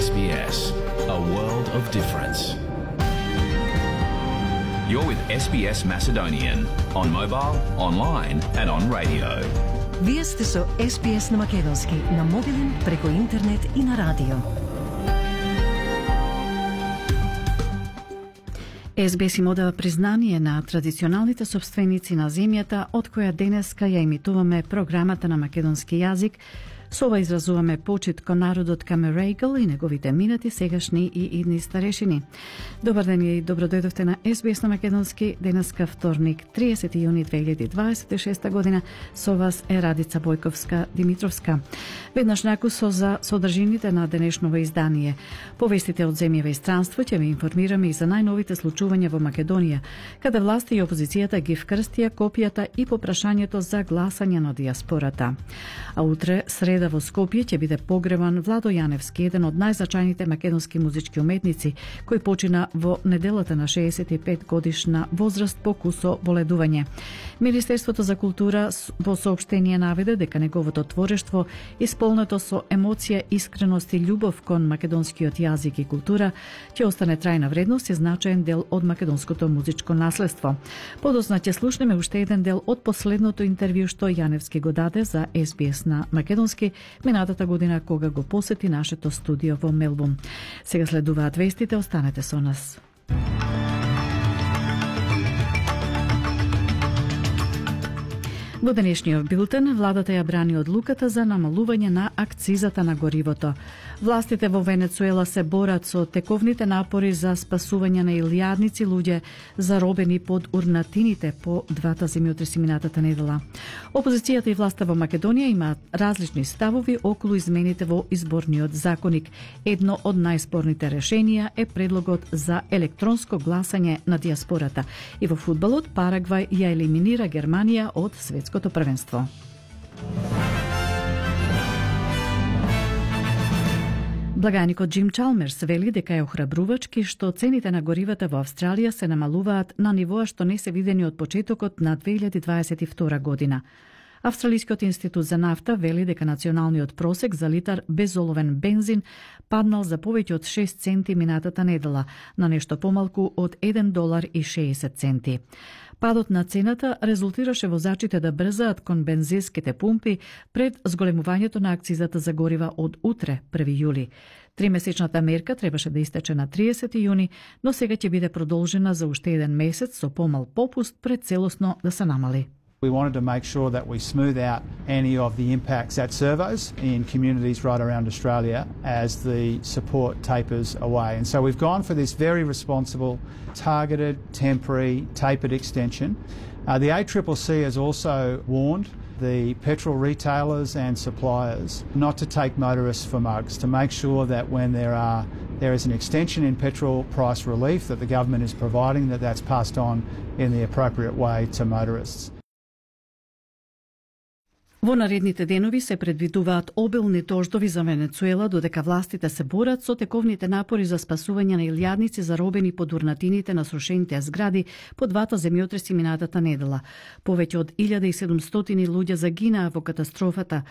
SBS, a world of difference. You're with SBS Macedonian on mobile, online and on radio. Вие сте со SBS на македонски, на мобилен, преку интернет и на радио. SBS им одава признание на традиционалните собственици на земјата, од која денеска ја емитуваме програмата на македонски јазик. Со ова изразуваме почит кон народот Камерейгл и неговите минати, сегашни и идни старешини. Добар ден и добро дојдовте на SBS на македонски. Денеска вторник, 30 јуни 2026 година. Со вас е Радица Бојковска-Димитровска. Веднаш накусо за содржините на денешново издание. Повестите од земјава и странство ќе ви информираме и за најновите случувања во Македонија, каде власти и опозицијата ги вкрстија копијата и попрашањето за гласање на диаспората. А утре, среда, во Скопје ќе биде погребан Владо Јаневски, еден од најзначајните македонски музички уметници, кој почина во неделата на 65 годишна возраст по кусо боледување. Министерството за култура во соопштение наведе дека неговото творештво, исполнето со емоција, искреност и љубов кон македонскиот јазик и култура, ќе остане трајна вредност и значаен дел од македонското музичко наследство. Подоцна ќе слушнеме уште еден дел од последното интервју што Јаневски го даде за SBS на македонски минатата година кога го посети нашето студио во Мелбурн. Сега следуваат вестите, останете со нас. Во денешниот билтен, владата ја брани одлуката за намалување на акцизата на горивото. Властите во Венецуела се борат со тековните напори за спасување на илјадници луѓе заробени под урнатините по двата земјотреси минатата недела. Опозицијата и власта во Македонија имаат различни ставови околу измените во изборниот законник. Едно од најспорните решенија е предлогот за електронско гласање на диаспората. И во фудбалот Парагвај ја елиминира Германија од светското првенство. Благајникот Џим Чалмерс вели дека е охрабрувачки што цените на горивата во Австралија се намалуваат на нивоа што не се видени од почетокот на 2022 година. Австралискиот институт за нафта вели дека националниот просек за литар безоловен бензин паднал за повеќе од 6 центи минатата недела, на нешто помалку од $1.60. Падот на цената резултираше возачите да брзаат кон бензинските пумпи пред зголемувањето на акцизата за горива од утре, 1 јули. Тримесечната мерка требаше да истече на 30 јуни, но сега ќе биде продолжена за уште еден месец со помал попуст пред целосно да се намали. We wanted to make sure that we smooth out any of the impacts at servos in communities right around Australia as the support tapers away. And so we've gone for this very responsible, targeted, temporary, tapered extension. The ACCC has also warned the petrol retailers and suppliers not to take motorists for mugs, to make sure that when there is an extension in petrol price relief that the government is providing, that's passed on in the appropriate way to motorists. Во наредните денови се предвидуваат обилни дождови за Венецуела, додека властите се борат со тековните напори за спасување на илјадници заробени под урнатините на срушените згради по двата земјотреси минатата недела. Повеќе од 1700 луѓе загинаа во катастрофата,